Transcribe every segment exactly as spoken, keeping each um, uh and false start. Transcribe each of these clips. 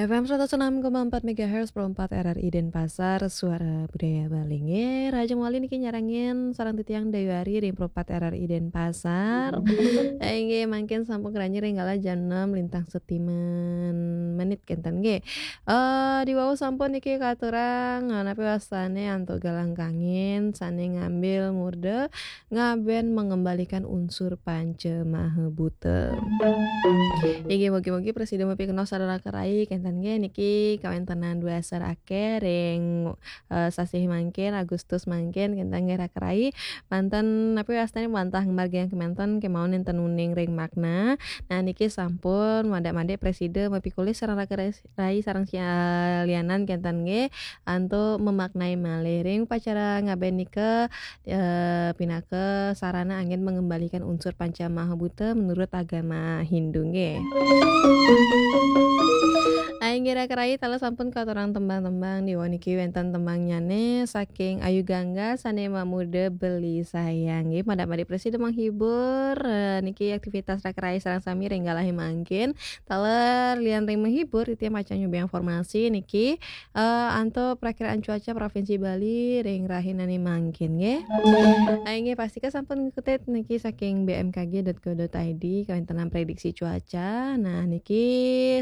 F M seratus enam koma empat megahertz, Pro empat R R I Denpasar, suara budaya Bali. Nggih, rahajeng malih niki nyarengin sareng titiang Dayu Ari ring Pro empat R R I Denpasar. Eh, nggih, mangkin sampun ngranjing ring galah jam enam lintang setimen menit kenten nggih. Eh, diwau sampun niki katurang, eh, napi wastane antuk galah kangin sane ngambil murda ngaben mengembalikan unsur panca maha buta. Inggih, mugi-mugi prasida mapikenoh sareng raka rai kenten nggih niki kawentenan dua sar akeh ring, eh, sasih mangkin, Agustus mangkin kenten nggih raka rai. Manten napi wastane wantah ngamargiang kemanten kemawon nenten uning ring makna. Nah, niki sampun madak-madik prasida mapikulis sareng raka rai sareng sialianan kenten nggih antuk memaknai malih ring upacara ngaben nika, eh, pinaka sarana anggen mengembalikan unsur panca maha buta menurut agama Hindu nggih. Inggih raka rai taler sampun katurang tembang-tembang diwau niki wenten tembangnyane saking Ayu Gangga sane mamurda Beli Sayang nggih. Madak-madik prasida menghibur, eh, niki aktivitas raka rai sareng sami ring galahe mangkin. Taler lian ring menghibur, titiang pacang nyobiahang informasi niki, eh, antuk Prakiraan Cuaca Provinsi Bali ring rahinane mangkin nggih. Ah, inggih pastika sampun ngikuti niki saking B M K G dot go dot I D kawentenan prediksi cuaca. Nah, niki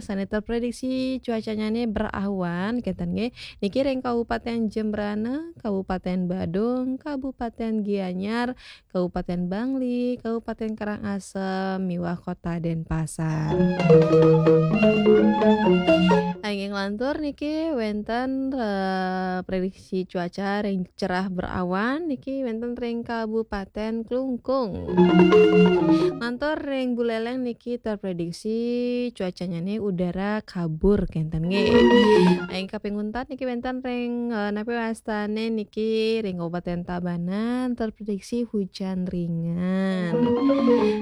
sane terprediksi cuacanyane berawan kenten nggih. Niki ring Kabupaten Jembrana, Kabupaten Badung, Kabupaten Gianyar, Kabupaten Bangli, Kabupaten Karangasem, miwah Kota Denpasar. Anging lantur niki wenten, eh, prediksi cuaca ring cerah berawan niki wenten ring Kabupaten Klungkung. Lantur ring Buleleng niki terprediksi cuacanyane udara kabur kenten nggih. Anging kaping untat niki wenten ring, eh, napi wastane niki ring Kabupaten Tabanan terprediksi hujan ringan.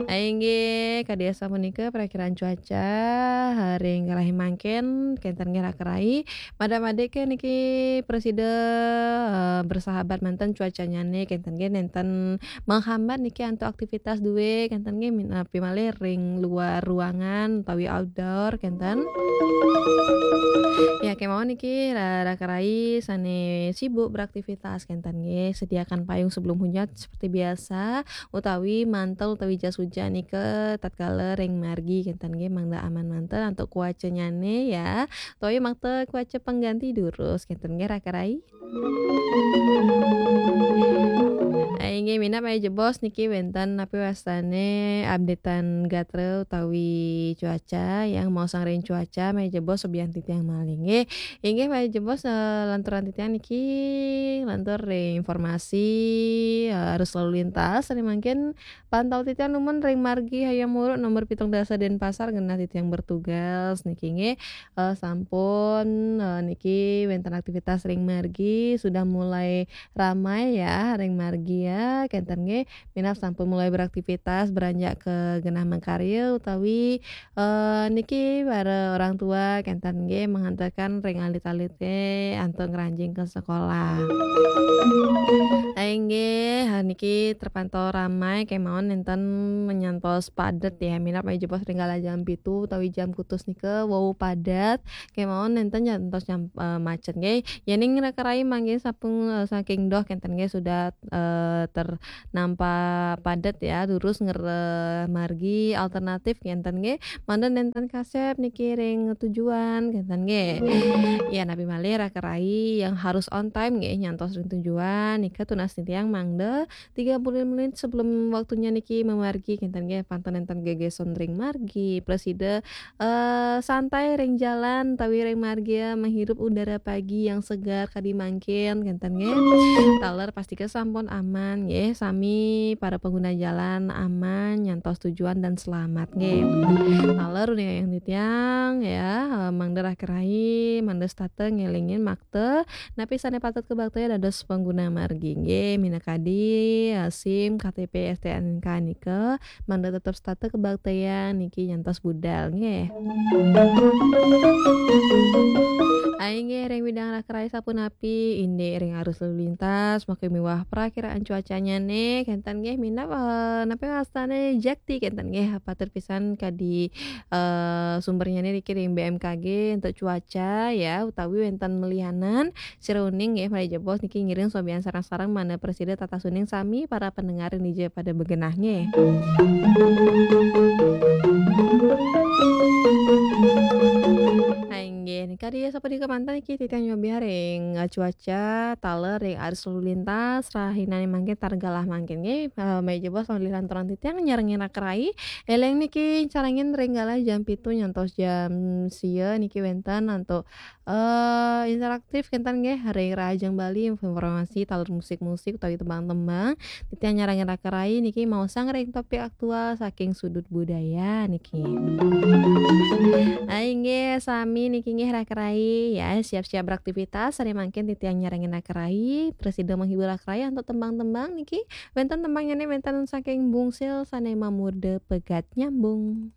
Inggih, kadi asapunika prakiraan cuaca, eh, ring galahe mangkin, kenten nggih raka rai. Madak-madik niki prasida, eh, bersahabat manten cuacanyane, kenten nggih nenten menghambat niki antuk aktivitas due, kenten nggih min-, napi malih ring luar ruangan utawi outdoor, kenten. Ya, kemawon niki ra-, raka rai sane sibuk beraktivitas, kenten nggih, sediakan payung sebelum hujan seperti biasa, utawi mantel utawi jas hujan nika tatkala ring margi, kenten nggih, mangda aman manten antuk cuacanyane ya, utawi makta cuaca pengganti durus, kenten nggih raka rai. Ah, inggih minab malih jebos niki wenten napi wastane updatean gatra utawi cuaca yang maosang ring cuaca malih jebos subiang titiang malih nggih. Inggih malih jebos, eh, lanturan titiang niki lantur ring informasi, eh, arus lalu lintas sane mangkin pantau titiang numun ring margi Hayam Wuruk nomor pitung dasa Denpasar genah titiang bertugas niki nggih. Eh, sampun, eh, niki wenten aktivitas ring margi sudah mulai ramai ya ring margi ya kenten nggih. Minab sampun mulai beraktivitas beranjak ke genah makarya utawi, eh, niki para orang tua kenten nggih menghantarkan ring alit-alite antuk ngranjing ke sekolah. Inggih, niki terpantau ramai kemawon nenten nyantos padet ya. Minab malih jebos ring galah jam pitu utawi jam kutus nika wau padet. Kemawon nenten nyantos nyam-, eh, macet nggih. Yening raka rai mangkin sampun, eh, saking doh kenten nggih sudah, eh, ternampak padet ya, durus ngrereh margi alternatif kenten nggih. Mangda nenten kasep niki ring tujuan kenten nggih. Ya, napi malih raka rai yang harus on time nggih nyantos ring tujuan nika tunas titiang mangda tiga puluh menit sebelum waktunya niki mamargi kenten nggih, pantun nenten gegeson ring margi, prasida, eh, santai ring jalan utawi ring margi ya, menghirup udara pagi yang segar kadi mangkin kenten nggih. Taler pastika sampun aman nggih, sami para pengguna jalan aman nyantos tujuan dan selamat nggih. Taler uning ayang titiang ya, eh, mangda raka rai, mangda setata ngelingin makta napi sane patut kabaktayang dados pengguna margi nggih, minakadi, eh, SIM, K T P, S T N K nika, mangda tetep setata kabaktayang niki nyantos budal nggih. Inggih ring bidang raka rai sapunapi, indik ring arus lalu lintas, makin miwah prakiraan cuacanya nih, kenten nggih minab, eh, napi wastane jakti kenten nggih, patut pisan kadi, eh, sumbernya nih niki ring B M K G untuk cuaca ya, utawi wenten melihanan, sira uning nggih, malih jebos niki ngiring sobian sareng-sareng mangda prasida tatas uning sami para pendengar ring dija pada begenah nggih. Inggih, kadi sapunika manten niki titiang nyobiah ring, eh, cuaca, taler ring arus lalu lintas, rahinane mangkin taler galah mangkin nggih. Eh, malih jebos malih lanturang titiang nyarengin raka rai. Eling niki carengin ring galah jam pitu nyantos jam sia niki wenten antuk, eh, interaktif kenten nggih ring Rahajeng Bali, informasi taler musik-musik utawi tembang-tembang. Titiang nyarengin raka rai niki maosang ring topik aktual saking sudut budaya niki. Ah, inggih sami niki nggih raka rai ya, siap-siap beraktivitas, sane mangkin titiang nyarengin raka rai, prasida menghibur raka rai antuk tembang-tembang niki. Wenten tembangnya nih wenten saking Bungsil sane mamurda pegat nyambung.